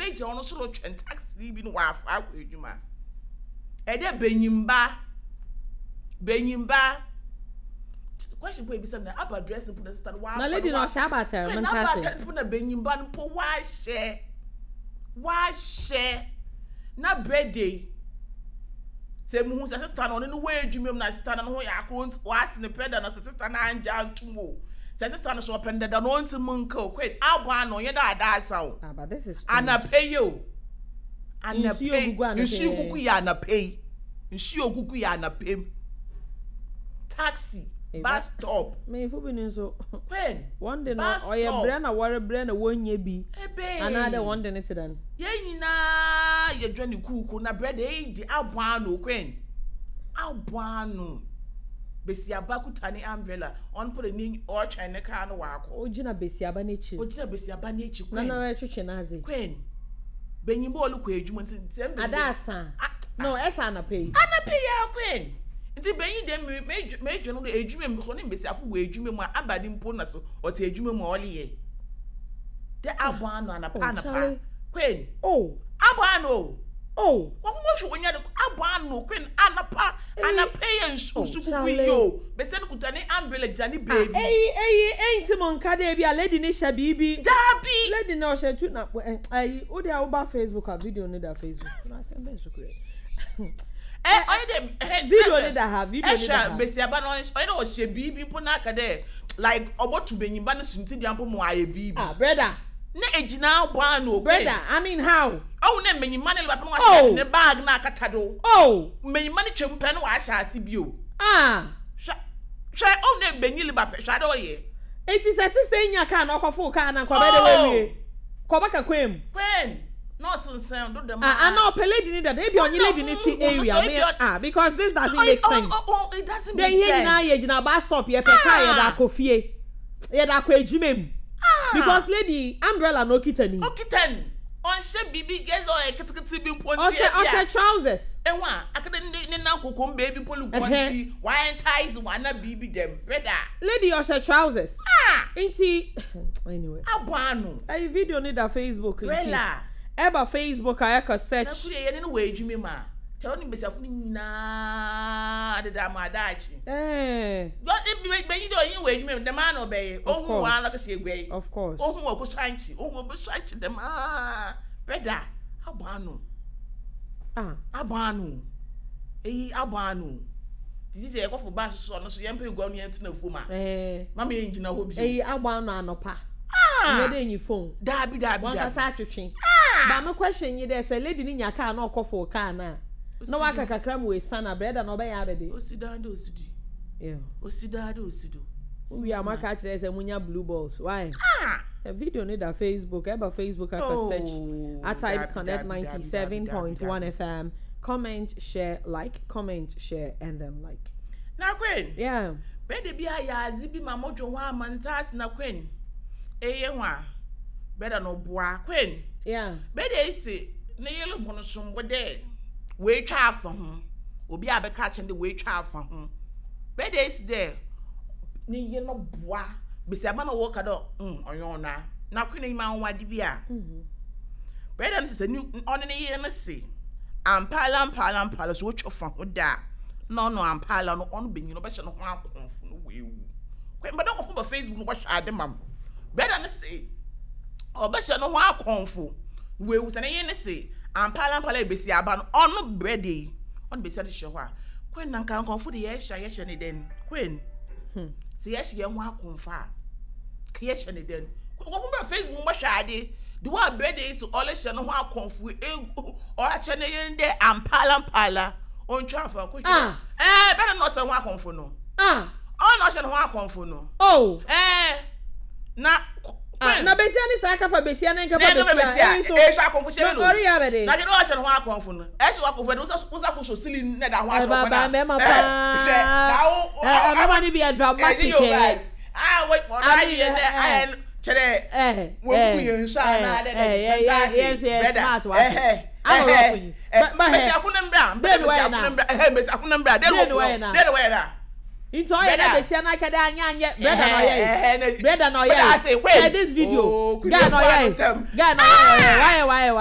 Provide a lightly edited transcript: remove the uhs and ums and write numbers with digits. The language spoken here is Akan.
Ebegyina ɔno so rotwɛn taxi bi no ɔafa akɔ edwuma. Ɛdɛ banyimba, banyimba. Question mpo ebisa na aba dress mpo na sister no wafa. Na lady na ɔhyɛ aba atar, mo nta ase. Aba atar mpo na banyimba no mpo wahyɛ. Wahyɛ. Na birthday. Sɛ muhu sɛ sister no ɔno no wɔ edwuma mu na sister no no ho yɛ akoro nti wase ne pɛ da na sɛ sister no angye antom o. Sɛ sister no so ɔpɛ no dada no ɔntsi mu nka o. Kwed abɔ ano ɔnyɛ dɛ adaasa o. Ah, but this is strange. Anapa yi o. Anapa yi. Nsuo gugu yɛ anapa yi. Nsuo gugu yɛ anapa yi. Taxi, bus stop. Mpanyinfo bi no nso. When? Wɔn de no ɔyɛ brɛ na wɔrebrɛ na wɔnyɛ bi. Ebe. Anaadɛ wɔn de ne te dɛn? Yɛn nyinaa yɛdwa ne kuuku na brɛ de eyi de abɔ ano kwen. Abɔ ano. Besiaba kuta ne umbrella. Ɔno mpo de ne ɔretwɛn ne kaa no wakɔ. Ogyina besiaba n'ekyir. Ogyina besiaba n'ekyir kwen. Na nara retwetwe n'adze. Kwen. Benyin bɛ ɔrekɔ edwuma nti sɛ mbenyin. Ada asa. No, ɛsɛ anapa yi. Anapa yi ara kwen. Nti benyin deɛ me me medwe no do edwuma mu because ɔne mbesiafo wɔ edwuma mu a aba ne mpo na so ɔtse edwuma mu a ɔreyɛ. Dɛ abɔ ano anapa anapa. Kwen. Oh. Abɔ ano o. Oh. Wɔn mo hwɛ wɔn nyɛ abɔ ano kwen anapa anapa yɛ nsu nsu gugu yi o. Besia no kuta ne umbrella gyina ne beebi. Ah eyi eyi enti mo nka dɛ ebi a lady no hyɛ biribi. Daabi. Lady no ɔhyɛ tu na ɛyi wo deɛ woba Facebook a video no da Facebook na asɛm bɛn so kura yi. Ɛ ɔyɛ dɛ ɛhɛ video no da ha video no da ha. Ɛhwɛ besiaba no ɔyɛ dɛ ɔhyɛ biribi mpo na aka dɛ like ɔbɔto benyimba no suntidua mpo ma ɔayɛ biribi. Ah brɛda. Na egyina abɔ ano o. Brɛda I mean how. Ɔhu dɛ mbenyimba no reba pɛ na ɔahyɛ ne bag no akata do. Oh. Mbenyimba no twa mu pɛ na ɔahyɛ ase bio. Ah. Hwɛ hwɛ ɔhu dɛ mbenyin reba pɛ hwɛ adɛ ɔyɛ. Ntsi sɛ sister yi nya car na ɔkɔfow car no a nka ɔbɛyɛ dɛ oewie? Nka ɔbɛka kwan mu. Kwan na ɔsensɛn do dɛm Ah, ana ɔpɛ lady no dada, ebi ɔnye lady no tse area, me ah, because this doesn't make sense. It doesn't Dɛ make hɛn sense. nyinaa yɛgyina bus stop, yɛpɛ car yɛdze akɔ fie, yɛdze akɔ edwuma mu. Because lady yi, umbrella na okitsa no yi. Okitsa no, ɔnnhyɛ biribi, gɛ dɛ ɔyɛ ketseketse bi mpo ntsi Ɔhyɛ, ebia. ɔhyɛ trousers. Ehu a, aka dɛ ne ne nan koko mu beebi mpo ruguan ntsi, ɔaentice wo anaa biribi dɛm. Brɛda. Lady yi ɔhyɛ trousers. Ah! Nti, anyway. Abɔ ano. Ayi video no da Facebook nti. Brɛla. Ɛba Facebook a ɛkɔ search. Na kuri yɛ ne no wɔ edwuma mu a, kyerɛ ɔne mbesiafo no nyinaa deda ama daakye. Eh. Benyin dɛ ɔnye wɔ edwuma mu dɛm ara na ɔbɛyɛ. Of Ohun course. wɔn ara na ɔkɛhyɛ egua yi. Of course. Ohun wɔ ɔkɔsuankye, ohun ɔbɛsuankye dɛm ara. Brɛda, abɔ ano. Ah. Abɔ ano. Eyi abɔ ano. Te sɛ yɛkɔfo bus so ɔno so yɛmpɛ egua no yɛntena fam a. Eh. Mama yɛngyina hɔ bio. Eyi abɔ ano anɔpa. Ah! Nyɛ dɛ enyi phone. Daabi daabi daabi. Wankasa atwetwe. Ah! Ba me question nye dɛ sɛ lady no nya car na ɔkɔfow car no a na waka kakra ma oesian a brɛda no ɔbɛyɛ abɛde. Osi daa dɛ osi do. Yeah. Osi daa dɛ osi do. Wowie a moaka akyerɛ sɛ monya blue balls why? Ah! Video no da Facebook ɛba Facebook aka search Oh, atype daabi connect daabi daabi daabi daabi 97.1 daabi. FM comment share like comment share and then like. Na Queen. Yeah. Brɛda bi ayɛ adze bi ma modwo ho ama ntse na Queen. Eye ho a brɛda no boa Queen. Yeah. Brɛda esi ne yer bɔ no sombo dɛ oetwa afa ho. Obi a bɛka akyerɛ no dɛ oetwa afa ho. Brɛda esi dɛ ne yer no boa besiaba na wɔka dɛ mm ɔnnyɛ ɔno a. Na Queen enyim anwanwade bi a. Brɛda no se sɛ ne ɔne ne yer no se ampaara ampaara ampaara sɛ otwa fa ho da a na ɔno ampaara no ɔno benyin no ɔbɛhyɛ no ho akɔmfo no oewu. Queen bɛda nkɔfo ba Facebook no wɔhwɛ ade ma m. Brɛda no se ɔbɛhyɛ no ho akɔmfo na oewu sɛ ne yer no se ampaara ampaara ebesi aba no ɔno brɛda yi ɔno besia no hyehyɛ hɔ a Queen na nka nkɔmfo de yɛhyɛ a yɛhyɛ ne dɛn Queen sɛ yɛhyɛ yɛn ho akɔmfo a ka yɛhyɛ ne dɛn nkɔmfo ba Facebook wɔhwɛ ade de wɔ abrɛda yi so ɔrehyɛ no ho akɔmfo egu ɔakyɛ ne yer dɛ ampaara ampaara ontwa afa nko Ah. ɛɛ bɛda na ɔtɛ ho akɔmfo no Ah. ɔno na ɔhyɛ ne ho akɔmfo no Oh. ɛɛ na Ah, na besia ne saa kafa besia ne nkafa na nkafa besia. besia Eyi so. ɛhyɛ akɔmfo hyɛ Na no ɔreyɛ abɛde. na hwɛ dɛ ɔhyɛ ne ho akɔmfo no ɛhyɛ ho akɔmfo ɛde wosa ko so sili na ɛda ho ahyɛ Ɛba ɔkɔ ba na mɛma ɛhwɛ paa. na wo Ɛ mɛma no bi yɛ dramatic ɛ. ah wait ɔno I mean, ayɛ dɛ eh, ayɛ kyerɛ Eh. wɔn mu yɛ nsu anaa dɛ dɛ Eh, yeah, yeah, yeah, smart wa. ɛhɛ I'm a rough you. But but hey. mbesiafo no mbra Dɛn na wɔyɛ mbesiafo na? no mbra ɛhɛ mbesiafo no mbra dɛn Dɛn na wɔyɛ na? dɛn na wɔyɛ na Nti ɔyɛ dɛ Brother. besia na akɛdɛ anyɛ anyɛ brother na ɔyɛ yi. Brother na ɔyɛ Brother, I say, yi. when? Share this video. Oh, Guy na ɔyɛ yi. Kudu Guy na ɔyɛ yi. Wayɛ wayɛ wayɛ.